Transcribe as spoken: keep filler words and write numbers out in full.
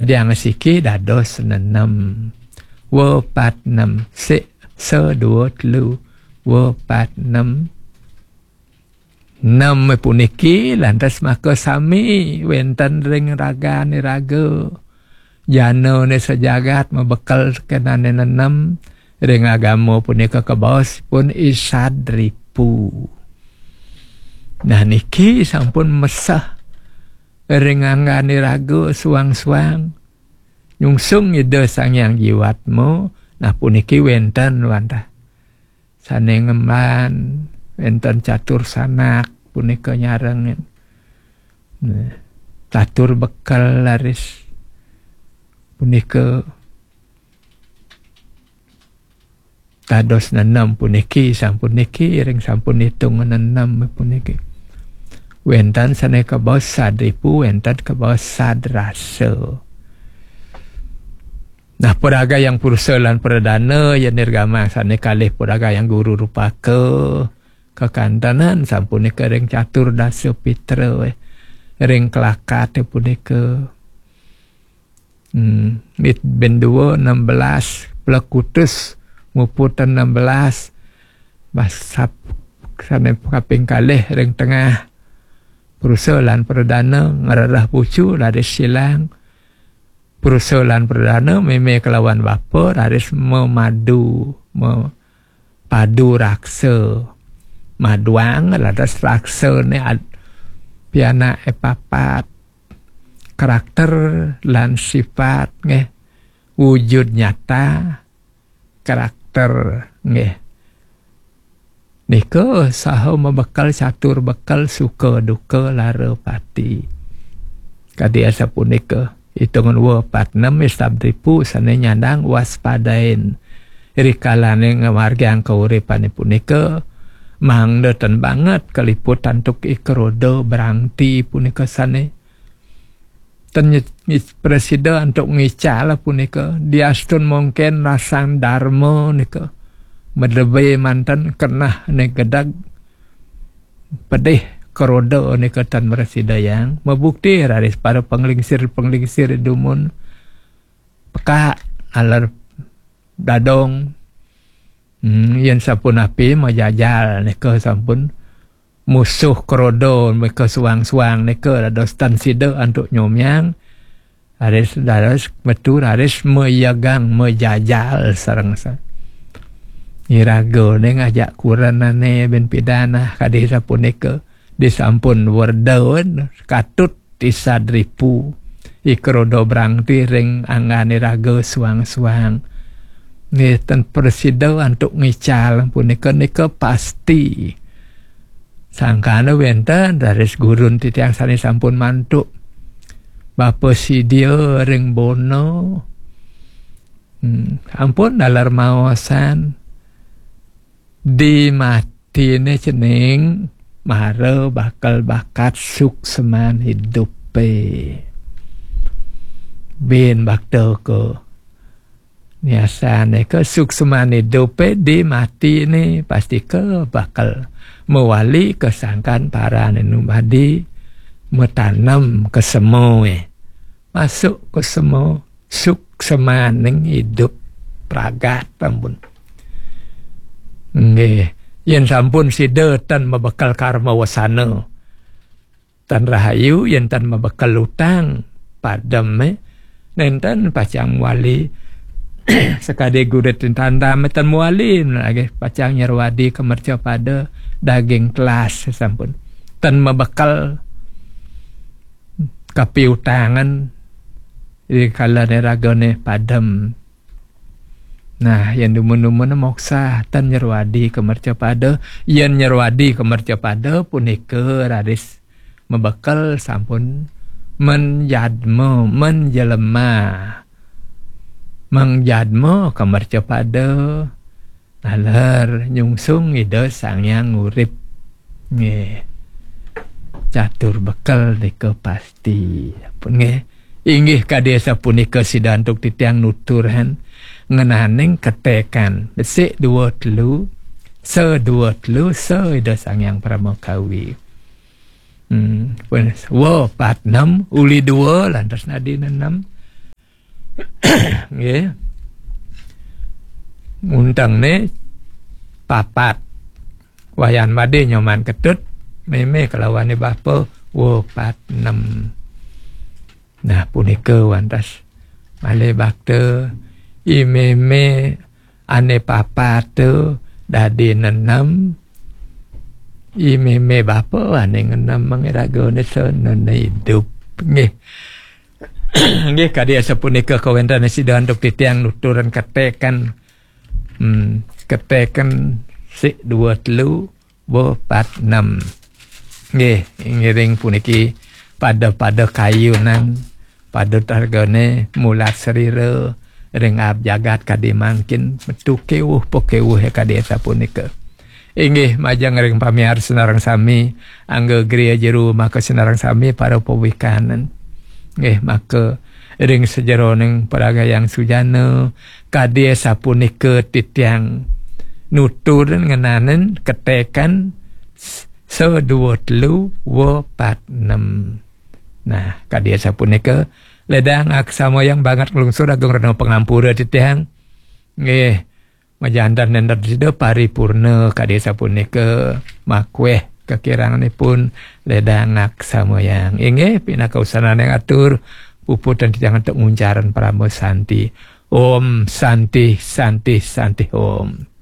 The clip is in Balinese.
Diang siki dados nenem. Wo pat nem. Sik, se, dua, telu. Wo pat nem. Nem puniki lantas maka sami wenten ring ragan iraga. Jana ne sajagat mabekel kenane nenem ring agama punika kabaos pun isad ripu. Nah, niki sampun meseh ring anggan iraga suang-suang. Nyungsung Ida Sang Hyang Jiwatma, nah, puniki wenten wantah sane ngemban, wenten catur sanak punika nyarengin. Nah, catur bekel laris punika dados nenem puniki, sampun niki, ring sampun itung nenem puniki. Wenten sane kabaos sad ripu, wenten kabaos sad rasa. Nah, puragayang purusa lan pradana, ya nirgamang sane kalih puragayang guru rupaka, kekantenan sampunika ring catur dasa pitra, eh, ring kelakat punika. Hmm, mit ben dua, enam belas, plekutus, muput enam belas, basap sane kaping kalih ring tengah. Purusa lan pradana ngrereh pucu, raris silang. Purusa lan pradana meme kelawan bapa, raris memadu, mepadu raksa. Maduang, raris raksa ne ad-, pianak e papat. Karakter lan sifat, nggih. Wujud nyata, karakter, nggih. Nika saha mabekel catur bekel suka duka lara pati. Kadi asapunika, itungan wa pat nem isab ripu sane nyandang waspadain. Rikalane ngamargiang kauripane punika, mangda ten banget kaliput antuk ikroda brangti punika sane ten nyi-, nyi-, prasida antuk ngical punika, diastun mungkin rasan darma nika. Medebe manten kenah ne gedeg pedih keroda nika tan mrasidayang. Mabukti raris para panglingsir-panglingsir dumun pekak aler dadong. Hmm, yen sampun api majajal nika sampun musuh keroda meka suang-suang nika dados tan sida antuk nyomyang. Raris, raris metu, raris mayagang, majajal sareng sa-, iraga ne ngajak kurenane ben pidan, ah, kadi sapunika. Disampun werda katut isad ripu, ikroda brangti ring anggan iraga suang-suang. Nggih, ten prasida antuk ngical punika, nika pasti. Sangkana wenten raris gurun titiang sane sampun mantuk. Bapa sida ring Bona. Hmm, ampun dalar maosan. Di matine cening mara bakal bakat sukseman idupe. Bin bakta ke niasane ke sukseman idupe di matine pasti ke bakal mawali ke sangkan parane numadi matanem ke semoe. Masuk ke semo suksemaning idup pragat ampun. Nggih, yen sampun sida tan mabekel karma wasana, tan rahayu, yen tan mabekel utang padem, eh, nenten pacang wali. Sekadi gurit tandam tan wali lagi pacang nyerwadi ke mercapada daging telas sampun. Tan mabekel kapiutangan, rikala ne ragane padem. Nah, yen dumun-dumun moksa, tan nyerwadi ke mercapada, yen nyerwadi ke mercapada punika raris mabekel sampun menjadma, menjelema. Menjadma ke mercapada, naler nyungsung Ida Sang Hyang Urip. Nggih. Catur bekel nika pasti. Ampun nggih. Inggih kadi sapunika sida antuk titiang nuturhan ngenaning ketekan. Besik dua telu, se dua telu, se Ida Sang Hyang Parama Kawi. Hmm, pun, wa pat nem, uli dua, lantas nadi nenem. Nggih. Muntengné papat. Wayan madé Nyoman Ketut, mémé kalawané bapa, wah, pat enem. Nah, punika wantah malih bakta, i mémé ané papat dadi nenem, i mémé bapa ané ngenem, mangiragané sanana idup. Nggih. Nggih, kadi asapunika kawéntenan sida antuk titiang nuturan ketéken. Hmm, ketéken sik dua telu, bo pat enem. Nggih, ngiring puniki pada-pada kayunan, pada targané mulat srira ring aab jagat kadi mangkin, metu kéwuh pakéwuh kadi asapunika. Inggih, majeng ring pamiarsa sareng sami, angga griya jero maka sareng sami para pawikanan. Nggih, maka ring sajeroning paragayan sujana, kadi asapunika titiang nutur ngenanin ketéken s-, sa dua telu wa pat enem. Nah, kadi asapunika, ledang aksamayang banget nglungsur agung rena pangampura titiang. Nggih, majanten nenten sida paripurna kadi sapunika, makweh kakiranganipun ledang aksamayang. Inggih, pinaka usananing atur, puputang titiang antuk nguncarang parama santi. Om Santi, Santi, Santi Om.